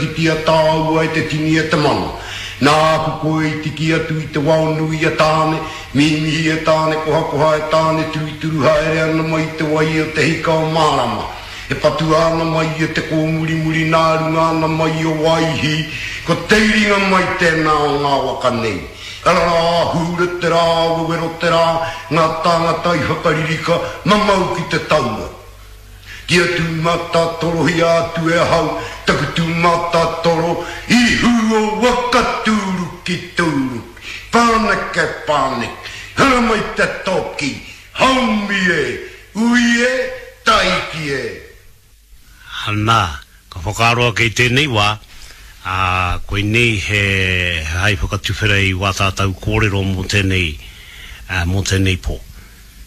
Kitia tāua e te tini e te mano. Nāku koe i tiki atu i te wao nui a Tāne, mihimihi e Tāne kohakoha e Tāne turituru haere ana mai i te wai o te hika o Mārama. E patua ana mai e te kōmurimuri nā runga ana mai o Waihī, ko te iringa mai tēnā o ngā waka nei. Ararā, hūre te rā, wewero te rā, ngā tāngata i whakaririka, mamau ki te taua. Kia tūmatatorohia atu e ahau taku tūmatatoro i hū o waka tūruki tūruki, pāneke pāneke, haramai te toki, haumi e, ui e, taiki e. Ana, ka whakaaro ake i tēnei wā, ā, koinei he hai whakatuwhera i wā tātou kōrero mō tēnei, mō tēnei pō.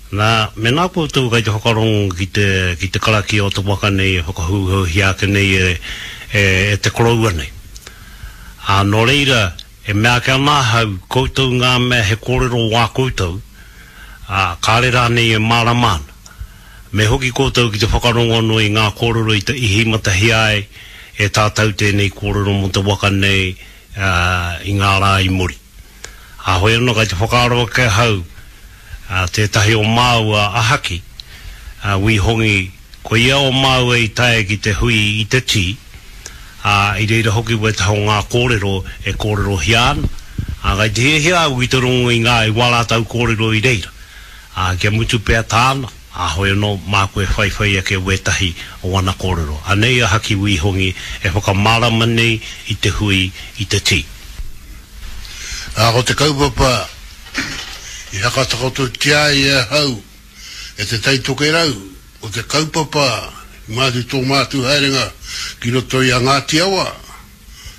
Nā, mēnā koutou kei te whakarongo ki te, ki te karakia o te waka nei e whakahouhouhia ake nei e, e, e te koroua nei. Ā, nō reira, e mea ake ana ahau, koutou ngā mea he kōrero wā koutou, ā, kāre rānei e mārama ana. Me hoki koutou ki te whakarongo anō i ngā kōrero i te i hīmatahia ai e tātou tēnei kōrero mō te waka nei, ā, i ngā rā i muri. Ā, hoi anō kei te whakaaro ake ahau, ā, tētahi o māua a Haki, a Wī Hongi, ko ia o māua i tae ki te hui i te tī, ā, i reira hoki wētahi o ngā kōrero e kōrerohia ana, ā, kei te hiahia au ki te rongo i ngā, i wā rātou kōrero i reira, ā, kia mutu pea tāna, ā, hoi anō, māku e whaiwhai ake wētahi o ana kōrero. Anei a Haki Wī Hongi e whakamārama nei i te hui i te tī. Ā, ko te kaupapa i hakatakototia ai e ahau e Te Tai Tokerau, ko te kaupapa i mātu tō mātu haerenga ki roto i a Ngāti Awa,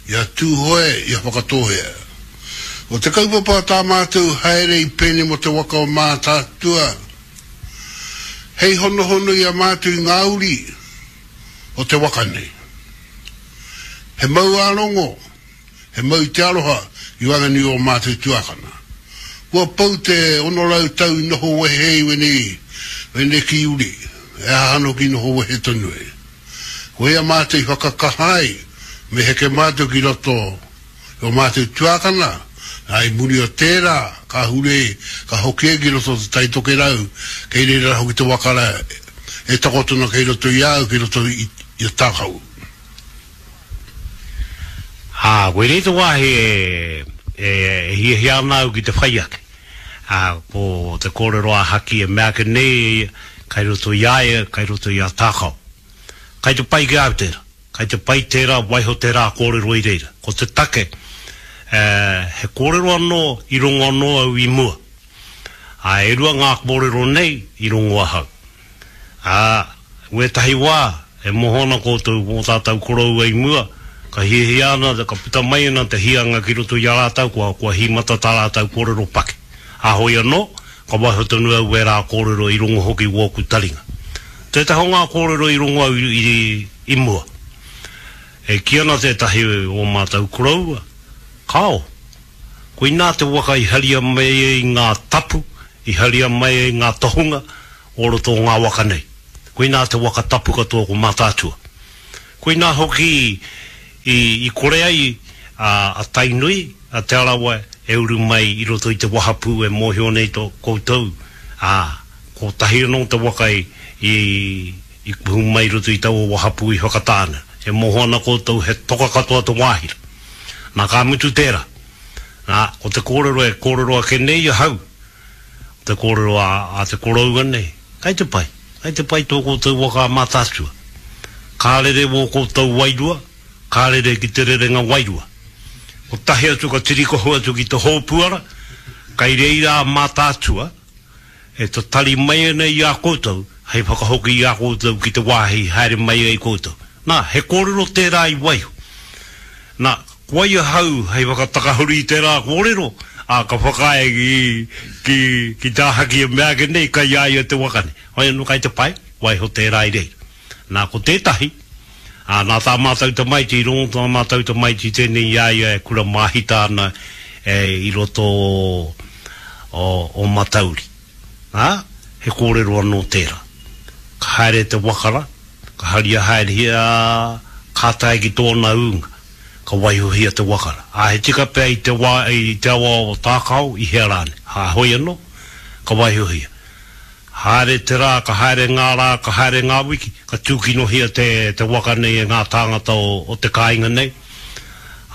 i a Tūhoe, i a Whakatōhea. Ko te kaupapa o tā mātou haere i pēnei mō te waka o Mātaatua, hei honohono i a mātou i ngā uri o te waka nei. He mau ā-rongo, He mau te aroha i waenganui o mātou tuakana. Kua pau te 600 tau i noho wehe i wenei, weneki uri, e aha anō ki noho wehe tonu ai. Koia mātou i whakakaha ai, me heke mātou ki roto i o mātou tuakana, nā i muri o tērā, ka hure, ka hoki ai ki roto o Te Tai Tokerau, kei reira hoki te waka rā e takoto ana kei roto i a au, kei roto i a Tākau. Ā, koinei te wāhi e hiahia ana au ki te whai ake. Ā, ko te kōrero a Haki e mea ake nei e ia, kai roto i a ia, kai roto i a Tākao. Kai te pai ki a au tērā. Kai te pai tērā, waiho tērā kōrero i reira. Ko te take, he kōrero anō i rongo anō au i mua. Ā, e rua ngā kōrero nei i rongo ahau. Ā, wētahi wā, e moho ana koutou mō tātou koroua i mua, ka hiahia ana, ka puta mai ana te hianga ki roto i a rātou, kua, kua hīmata tā rātou kōrero paki. Ā, hoi anō, ka waiho tonu au wērā kōrero i rongo hoki wōku taringa. Tētahi o ngā kōrero i rongo au i, i, i mua. E kī ana tētahi o mātou koroua, Kāo, koinā te waka i haria mai ai ngā tapu, i haria mai ai ngā tohunga, o roto o ngā waka nei. Koinā te waka tapu katoa ko Mātaatua. Koinā hoki i i kore ai a Tainui, a Te Arawa e uru mai i roto i te wahapū e mōhio nei to koutou, ā, kotahi anō te waka i i kuhu mai i roto i taua wahapū i Whakatāne. E mōhio ana koutou he toka katoa te wāhi rā. Nā ka mutu tērā. Nā, ko te kōrero e kōrero ake nei ahau, Te kōrero a te koroua nei, Kei te pai, kei te pai tō koutou waka a Mātaatua. Ka rere wō koutou wairua, ka rere ki te rerenga wairua. Kotahi atu ka tirikohu atu ki te hōpuara, kei reira a Mātaatua e tatari mai ana i a koutou hei whakahoki i a koutou ki te wāhi haere mai ai koutou. Nā, he kōrero tērā i waiho. Nā, ko wai ahau hei whakatakahuri i tērā kōrero, ā, ka whakaae ki, ki, ki tā Haki e mea ake nei, kai a ia te waka nei. Hoi anō kai te pai, waiho tērā i reira. Nā, ko tētahi, ā, nā tā mātou tamaiti, i rongo tā mātou tamaiti tēnei i a ia e kura māhita ana e, i roto o, o, o Matauri. Ā, he kōrero anō tērā. Ka haere te waka rā, ka haria haerehia, ka tae ki tōna ūnga. ka waihohia te waka rā. Ā, he tika pea i te wā, i te awa o Tākao, i hea rānei. Ā, hoi anō, ka waihohia. Haere te rā, ka haere ngā rā, ka haere ngā wiki, ka tūkinohia te, te waka nei e ngā tāngata o, o te kāinga nei.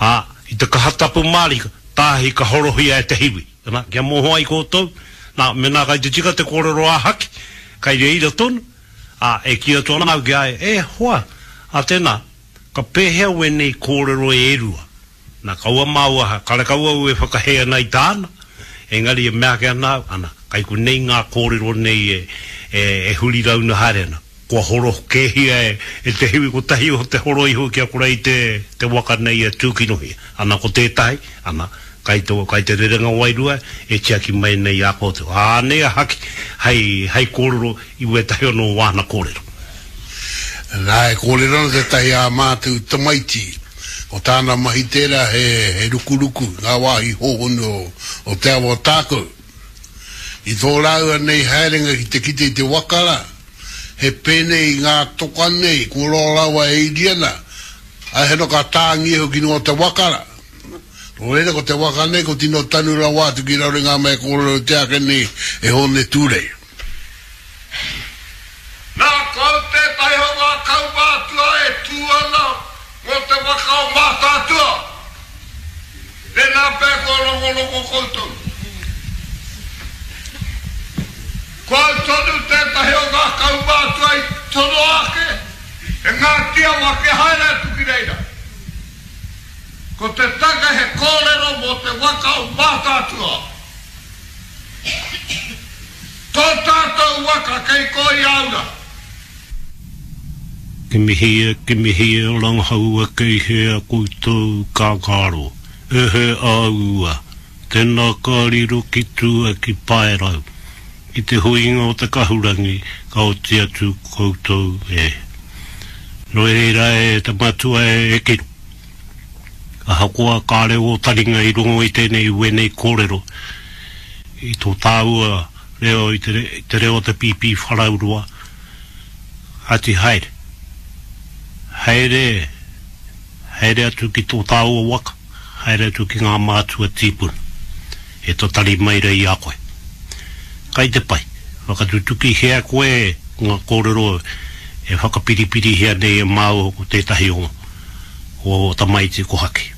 Ā, i te kaha tapu mārika, tāhi ka horohia e te hiwi. Nā, kia mōhio ai koutou, nā, mēnā kai te tika te kōrero a Haki, kai reira tonu, ā, e kī atu ana au ki a ia, E hoa, ā tēnā, ka pēhea wēnei kōrero e rua? Nā, kaua māua, karekau au e whakahē ana i tāna, engari e mea ake ana au, ana, kai konei ngā kōrero nei e, e, e huri rauna haere ana. Kua horo kēhia e, e te hiwi kotahi o te horo iho kia kore ai te, te waka nei e tūkinohia. Ana, ko tētahi, ana, kai te, kai te rerenga wairua e tiaki mai nei i a koutou. Ā, anei a Haki hei, hei kōrero i wētahi anō o āna kōrero. Nā, e kōrero ana tētahi ā mātou tamaiti, ko tāna mahi tērā he, he rukuruku i ngā wāhi hōhonu o, o te awa o Tākou. I tō rāua nei haerenga ki te kite i te waka rā, he pēnei i ngā toka nei, kua roa rawa e iri ana, ā, he roka tāngia hoki runga o te waka rā. Nō reira, ko te waka nei, ko tino tanu rawa atu ki raro i ngā mea e kōrerotia ake nei e Hōne Tūrei. Nā, ko au tētahi o ngā kaumātua e tū ana mō te waka o Mātaatua. Tēnā pea kua rongorongo koutou. Ko au tonu tētahi o ngā kaumātua i tonoa ake e Ngāti Awa kia haere atu ki reira. Ko te take he kōrero mō te waka o Mātaatua. Tō tātou waka kei Kōiāura. Kimihia, kimihia, rangahaua kei hea koutou kākāro, ehe āua, tēnā ka riro ki tua ki Paerau, ki te huinga o te kahurangi ka oti atu koutou e. Nō reira e te matua e Kiro, ahakoa kāre ō taringa i rongo i tēnei wēnei kōrero, i tō tāua reo i te reo o te pīpīwharauroa, Ati haere. Haere, haere atu ki tō tāua waka, haere atu ki ngā mātua tīpuna e tatari mai rei i a koe. Kai te pai, whakatutukihia koe ngā kōrero e whakapiripirihia nei e māua ko tētahi o ō tamaiti ko Haki.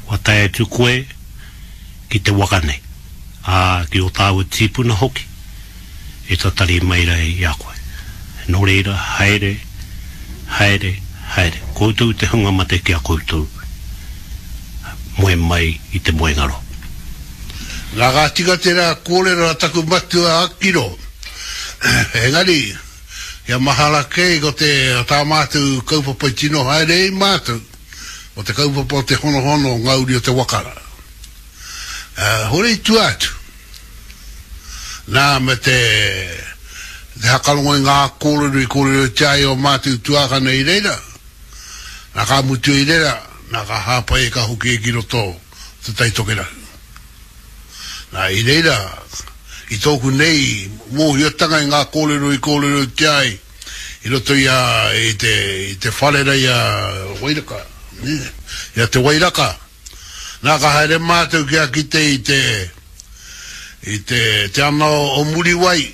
Kua tae atu koe ki te waka nei, ā, ki ō tāua tīpuna hoki. e tatari mai ra i a koe. No reira, haere, haere, haere, koutou te hunga mate ki a koutou, moe mai i te moengaro. Na ka tika tera korero a taku matua a Kiro, engari, kia mahara ke ko te ta matou kaupapa i tino haere ai matou, ko te kaupapa o te honohono o nga uri o te waka ra. Hore i tua atu. Nā, me te, te hakarongo i ngā kōrero i kōrerotia ai ō mātou tuākana i reira, nā, ka mutu i reira, nā, ka hāpai e ka hoki e ki roto o Te Tai Tokerau. Nā, i reira, i tōku nei mōhiotanga i ngā kōrero i kōrerotia ai i roto i a, i te, i te whare rei a Wairaka, nē, i a Te Wairaka, Nā, ka haere mātou kia kite i te, i te, te ana o Muriwai.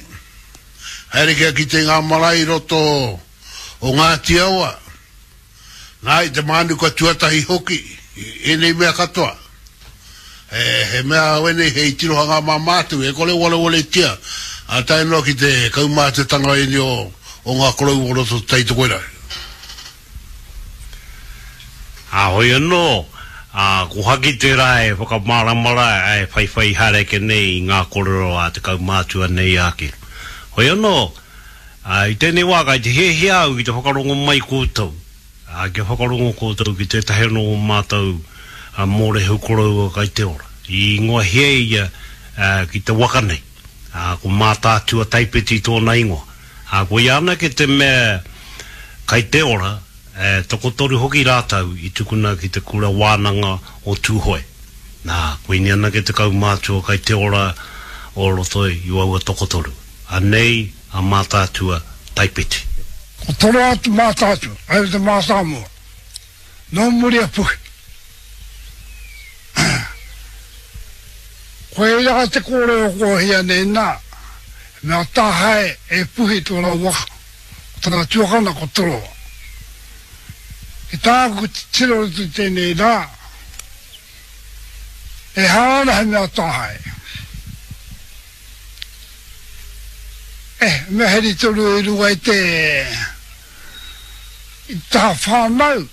Haere kia kite i ngā marae i roto o Ngāti Awa. Nā, i te mānuka tuatahi hoki, i ēnei mea katoa. He, he mea wēnei hei tirohanga mā mātou, e kore warewaletia, ā, tae noa ki te kaumātuatanga ēnei o, o ngā koroua o roto o Te Tai Tokerau. Ā, hoi anō, ā, ko Haki tērā e whakamārama rā, e whaiwhai haere ake nei i ngā kōrero a te kaumātua nei a Kiro. Hoi anō, ā, i tēnei wā kai te hiahia au ki te whakarongo mai koutou, ā, kia whakarongo koutou ki tētahi anō o mātou mōrehu koroua kai te ora. I ingoahia ia, ā, ki te waka nei, ā, ko Mātaatua Taipeti tōna ingoa. Ā, koia anake te mea kai te ora, e tokotoru hoki rātou i tukuna ki te kura wānanga o Tūhoe. Nā, koinei anake te kaumātua kai te ora o roto i aua tokotoru. Anei a Mātaatua Taipeti. Ko toro atu Mātaatua, haere te mātāmua. Nō muri a Puhi. Koirā te kōrero kua hia nei nā, he mea tāhae e Puhi tōna waka, ko tana tuakana ko Toroa. Ki tāku titiro i tēnei rā, ehara ana he mea tāhae. E, he mea heri tonu i runga i te, i te taha whānau.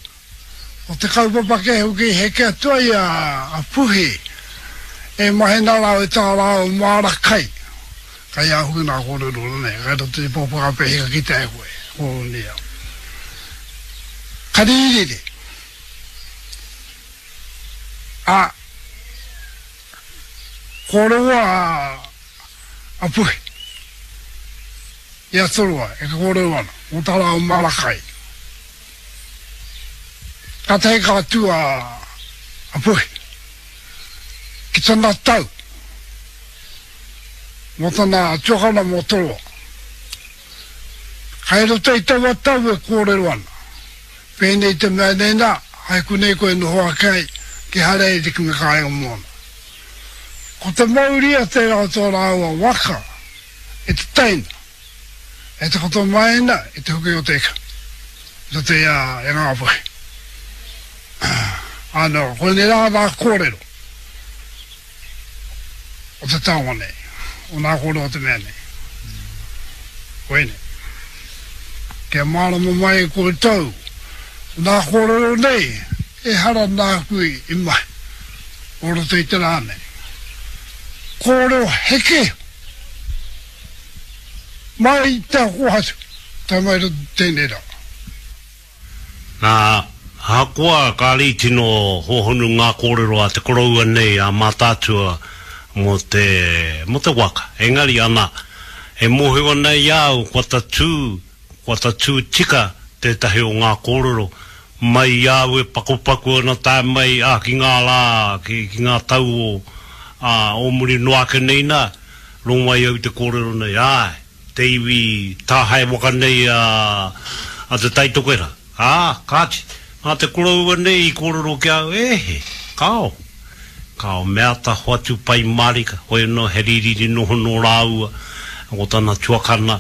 Ko te kaupapa kē hoki i heke atu ai a Puhi e mahi nā rāua i tā rāua māra kai. Kai a hoki nā kōrero rānei, kai roto i te pōpaka pēhi ka kitea e koe, kōronia. Ka rīriri. A, kōrero a, a Puhi. I a Toroa e kōrero ana, mō tā rāua māra kai. Kātahi ka tū a Puhi ki tana tau mō tana tuakana mō Toroa. Kai roto i taua tau e kōrero ana, pēnei te mea nei nā, hai konei koe noho ake ai, ki haere ai te kimi kāinga mōna. Ko te mauria tērā o tō rāua waka e te teina. E takoto mai ana i te hoki o te ika, i roto i a i Ngāpuhi. Ano, koinei rā ngā kōrero o te taonga nei, o ngā kōrero o te mea nei. Koinei. Kia mārama mai koutou, nā kōrero nei, ehara nāku i mahi, o roto i te rā nei. Kōrero heke! Mai i te kōhatu, tae mai roto tēnei rā. Nā, ahakoa kāre i tino hōhonu ngā kōrero a te koroua nei a Mātaatua mō te, mō te waka, engari ana, e mōhio ana i a au kua tatū, kua tatū tika tētahi o ngā kōrero mai i a au e pakupaku ana tae mai, ā, ki ngā rā, ki, ki ngā tau o, ā, o muri noa ake nei nā, Rongo ai au i te kōrero nei, āe, te iwi tāhae waka nei a, a Te Tai Tokerau. Ā, kāti, nā te koroua nei i kōrero ki a au, e he, kāo. Kāo, me āta hoatu pai mārika, hoi anō he rīriri noho nō rāua, ko tana tuakana,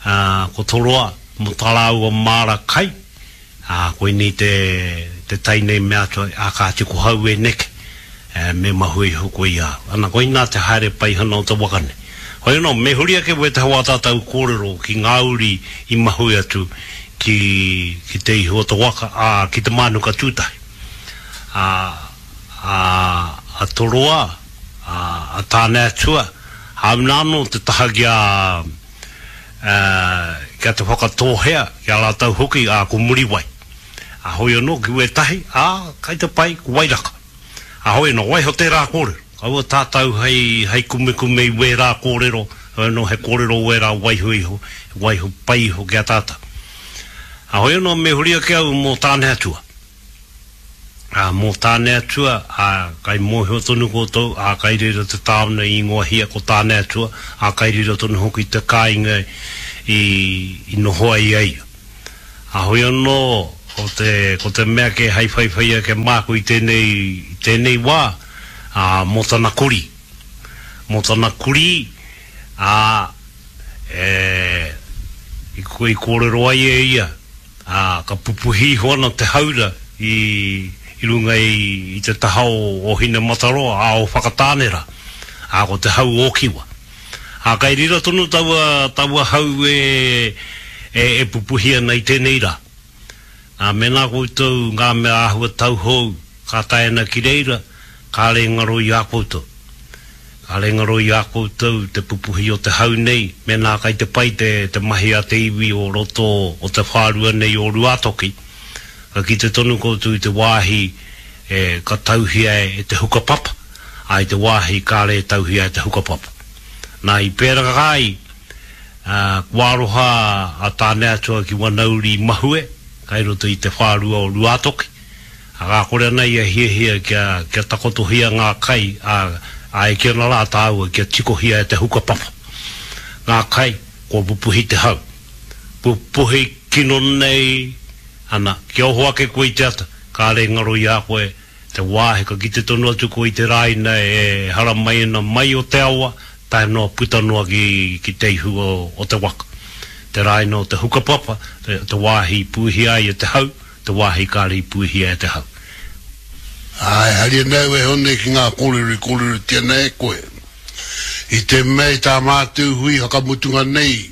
ā, ko Toroa, mō tā rāua māra kai, Ā, koinei te, te tai nei mea atu ai, ā, kāti ko hau e neke, ē, me mahue iho koe i a au. Ana, koinā te haere paihana o te waka nei. Hoi anō, me huri ake wētahi o ā tātou kōrero ki ngā uri i mahue atu ki, ki te ihu o te waka, ā, ki te mānuka tūtahi. Ā, ā, a Toroa, ā, a Tāneatua, hāuna anō te taha ki a, ā, kia te Whakatōhea, ki a rātou hoki, ā, ko Muriwai. Ā, hoi anō ki wētahi, ā, kai te pai, ko Wairaka. Ā, hoi anō, waiho tērā kōrero. Kaua tātou hei, hei kumekume i wērā kōrero, hoi anō he kōrero wērā waiho iho, he waiho pai iho ki a tātou. Ā, hoi anō me huri ake au mō Tāneatua. Ā, mō Tāneatua, ā, kai mōhio tonu koutou, ā, kai reira te tāone i ingoahia ko Tāneatua, ā, kai reira tonu hoki te kāinga i, i noho ai a ia. Ā, hoi anō, ko te, ko te mea kē hei whaiwhai ake māku i tēnei, i tēnei wā, ā, mō tana kurī. Mō tana kurī, ā, e, i, i kōrero ai e ia, Ā, ka pupuhi iho ana te haura i runga i te taha o Hinemataroa, ā, o Whakatāne rā, ā, ko te hau o Kiwa. Ā, kei reira tonu taua, taua hau e, e pupuhi ana i tēnei rā. Nā, mēnā koutou ngā mea āhua tauhou ka tae ana ki reira, kāre e ngaro i a koutou. Kāre ngaro i a koutou te pupuhi o te hau nei, mēnā kai te pai te te mahi a te iwi o roto o te whārua nei o Ruātoki, ka kite tonu koutou i te wāhi e ka tauhia e te hukapapa, ā, i te wāhi kāre e tauhia e te hukapapa. Nā, i pērā ai, ā, kua aroha a Tāneatua ki wana uri mahue, kai roto i te whārua o Ruātoki. Ā, kore ana ia hiahia kia, kia takotohia ngā kai, ā, ā, e kī ana rā tāua kia tikohia e te hukapapa ngā kai, kua pupuhi te hau. Pupuhi kino nei, ana, kia oho ake koe i te ata, kāre e ngaro i a koe Te wāhi ka kite tonu atu koe i te rāina e haramai ana mai o te awa tae noa puta noa ki, ki te ihu o, o te waka. Te rāina o te hukapapa, te, te wāhi i pūhia ai e te hau, te wāhi kāre i pūhia e te hau. Ā, e hari ana au e Hone ki ngā kōrero i kōrerotia nei e koe. I te mea i tā mātou hui whakamutunga nei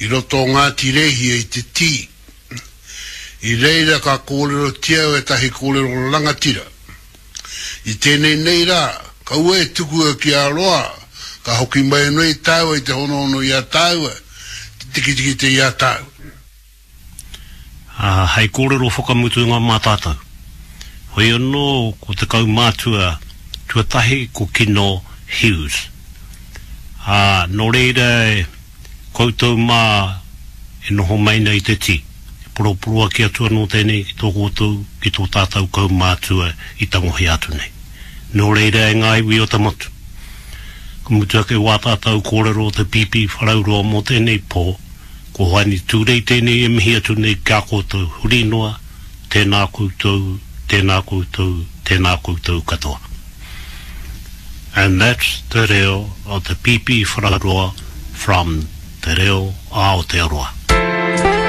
i roto o Ngāti Rēhia i te tī, i reira ka kōrerotia ētahi kōrero rangatira. I tēnei nei rā, kaua e tukua kia roa, ka hoki mai anō i tāua i te honohono i a tāua, te tikitikite i a tāua. Ā, hei kōrero whakamutunga mā tātou. Hoi anō ko te kaumātua tuatahi ko Kino Hughes. Ā, nō reira e koutou mā e noho mai nei te tī, e poroporoaki atu anō tēnei ki tō koutou, ki tō tātou kaumātua i tangohia atu nei. Nō reira e ngā iwi o te motu, ka mutu ake wā tātou kōrero o te Pīpīwharauroa mō tēnei pō, Ko Hoani Tūrei tēnei e mihi atu nei ki a koutou huri noa, tēnā koutou, tēnā koutou, tēnā koutou katoa. And that's te reo o te Pīpīwharauroa from Te Reo Aotearoa.